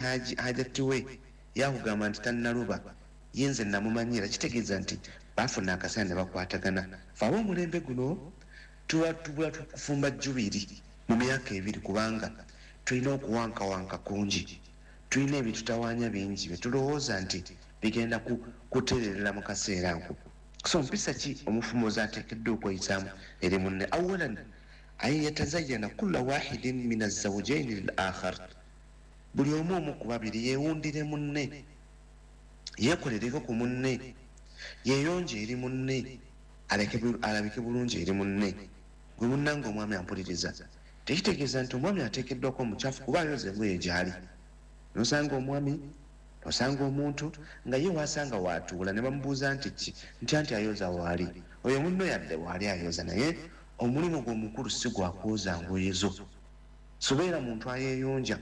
Hajati we yakugamba nti tannaluba, ye nze namumanyira. Kitegeeza nti bafuna akaseera ne bakwatagana. Fe ab'omulembe guno tuba tubula kufumba jjubiri mu myaka 2, kubanga tulina okuwankawanka kungi, tulina ebitutawaanya bingi byetulowooza nti bigenda kutererera mu kaseera ako. So mpisa ki omufumbo z'ateekeddwa okweyisaamu eri munne? Awalan, an yatazayyana kulla wahidin min azawjaini lil akhar, buli omu omu ku babiri yeewundire munne, yeekolereko ku munne, yeeyonje eri munne, alabike bulungi eri munne. Gwe munnange omwami ampuliriza, tekitegeeza nti omwami ateekeddwako omukyafu kuba ayoza engoye gy'ali. Nosanga omwami, osanga omuntu nga ye wasanga waatuula ne bamubuuza nti ki, nti anti ayoza waali. Oyo munno yadde waali ayoza, naye omulimu gwe omukulu si gwa kwoza ngoye zo. Sobeera muntu ayeeyonja,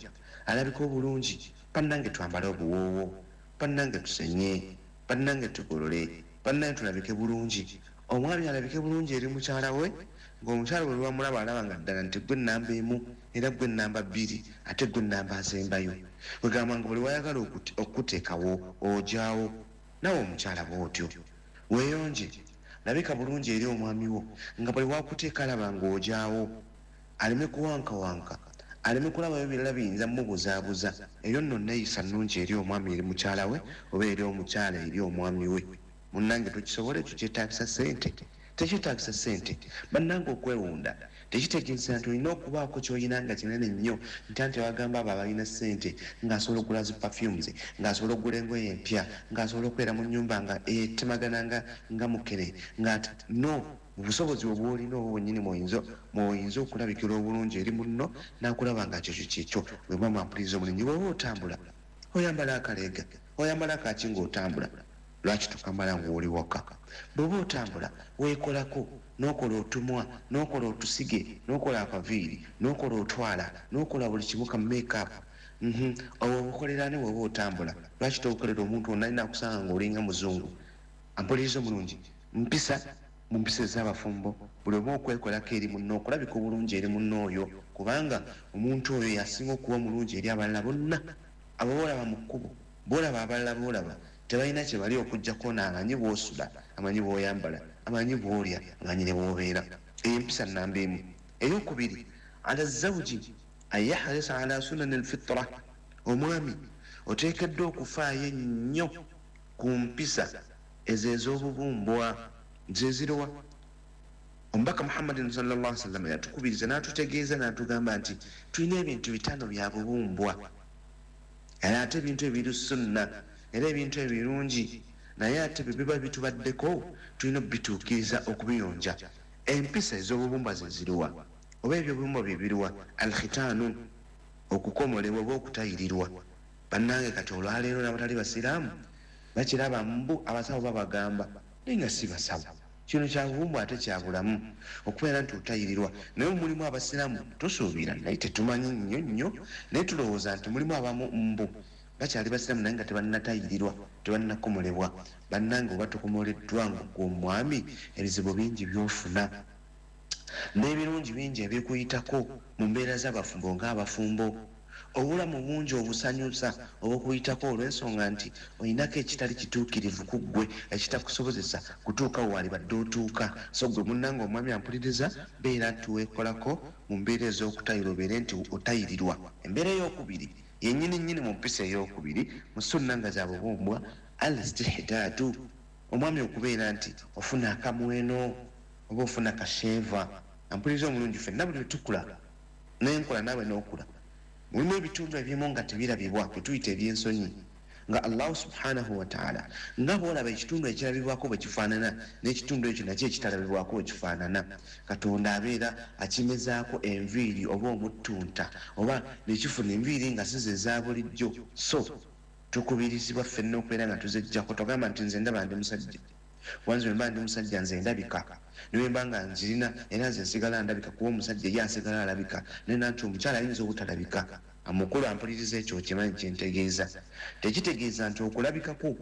alabika obulungi. Bannange twambale obuwoowo, bannange tusenye, bannange tugolole, bannange tulabike bulungi. Omwami alabike bulungi eri mukyala we, ng'omukyala bwe lwamulaba alaba nga ddala nti gwe nnamba 1, era gwe nnamba 2, ate gwe nnamba asembayo. Kwegamba nga buli wayagala okuteekawo ojaawo. Nawe omukyala bw'otyo weeyonje, labika bulungi eri omwami wo, nga buli wakuteeka alaba ng'ojaawo, aleme kuwankawanka, aleme kulabayo birala biyinza mubuzaabuza. Eyo nno neeyisa nnungi eri omwami eri mukyala we, oba eri omukyala eri omwami we. Munnange tokisobola ekyo, kyetaagisa ssente? Tekyetaagisa ssente. Bannange okwewunda tekitegeeza nti olina okubaako ky'olina nga kinene nnyo, nti anti abagamba abo abalina ssente ng'asobola okugula zi perfumes, ng'asobola okugula engoye empya, ng'asobola okubeera mu nnyumba nga etemagana nga mukene, nga no mu busobozi bwe bw'olina obwo bwennyini mw'oyinza okulabikira obulungi eri munno n'akulaba nga kyekyo kyekyo. Bwe muba mwampuliriza omulingi, bw'oba otambula oyambala akaleega, oyambala akaki ng'otambula, lwaki tokamala ng'oli waka? Bw'oba otambula weekolako, n'okola otumwa, n'okola otusige, n'okola akaviiri, n'okola otwala, n'okola buli kimu ka make-up. Obwo obukolera ne bw'oba otambula, lwaki tobukolera omuntu ono alina akusanga ng'olinga muzungu? Ampuliriza omulungi, mpisa mu mpisa ez'abafumbo buli omu okwekolako eri munno, okulabika obulungi eri munno oyo, kubanga omuntu oyo yasinga okuba omulungi eri abalala bonna. Abo boolaba mu kkubo, boolaba abalala boolaba tebalina kye bali okuggyako n'amanyi bw'osula, amanyi bw'oyambala, amanyi bw'olya, amanyi ne bw'obeera. Eyo empisa nnamba 1. Eyokubiri, ala zawji an yahrisa ala sunani alfitra, omwami oteekeddwa okufaayo ennyo ku mpisa ezo ez'obubumbwa. Ze ziruwa? Omubaka Muhammadin sallallahu alaihi wasallam yatukubiriza n'atutegeeza n'atugamba nti tulina ebintu 5 bya bubumbwa, era ate ebintu ebiri sunna, era ebintu ebirungi, naye ate bwe biba bitubaddeko tulina obituukiriza okubiyonja. Empisa ez'obubumbwa ze ziruwa? Oba ebyobubumbwa bye biruwa? Alkhitaanu, okukomolebwa oba okutayirirwa. Bannange kati olwaleero n'abatali basiraamu bakiraba mbu abasawo babagamba, naye nga si basawo. Kino kya bubumbwa ate kya bulamu okubeera nti otayirirwa. Naye mulimu abasiraamu tusuubira, naye tetumanyi nnyo nnyo, naye tulowooza nti mulimu abamu mbu bakyali basiraamu naye nga tebannatayirirwa, tebannakomolebwa. Bannange oba tokomoleddwa nga omwami, ebizibu bingi by'ofuna n'ebirungi bingi ebikuyitako mu mbeera z'abafumbo ng'abafumbo. Obulamu bungi obusanyusa obukuyitako olw'ensonga nti olinako ekitali kituukirivu ku ggwe ekitakusobozesa kutuuka waalibadde otuuka. So ggwe munnange omwami ampuliriza, beera nti weekolako mu mbeera ez'okutayira, obeere nti otayirirwa. Embeera eyokubiri yennyini nnyini mu mpisa eyokubiri mu sunna nga za bubumbwa, al istihdaadu, omwami okubeera nti ofuna akamweno oba ofuna kasheeva. Ampuliriza omulungi, ffenna buli lwe tukula n'enkola naawe n'okula, mulimu ebitundu ebimu nga tebirabibwa, bye tuyita ebyensonyi, nga Allahu subhanahu wataala nga bw'olaba ekitundu ekirabibwako bwe kifaanana n'ekitundu ekyo nakyo ekitalabibwako bwe kifaanana, Katonda abeera akimezaako enviiri oba omuttunta oba nekifuna enviiri nga si ze eza bulijjo. So tukubirizibwa ffenna okubeera nga tuzeggyako. Togamba nti nze ndaba ndi musajja, wanze bwe mba ndi musajja nze ndabika, ne bwe mba nga nzirina era nze nsigala ndabika, kuba omusajja ye asigala alabika, naye nanti omukyala ayinza obutalabika. Amukulu ampuliriza, ekyo okimanyi kyentegeeza. Tekitegeeza nti okulabikako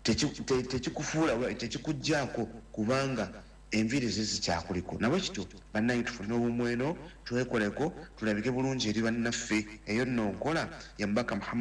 tekikufuula, tekikugjaako, kubanga Enviiri ze zikyakuliko. Nabwe kityo, bannange, tufune obumweno, twekoleko, tulabike bulungi eri bannaffe. Eyo nno nkola ya Mubaka Muhammad.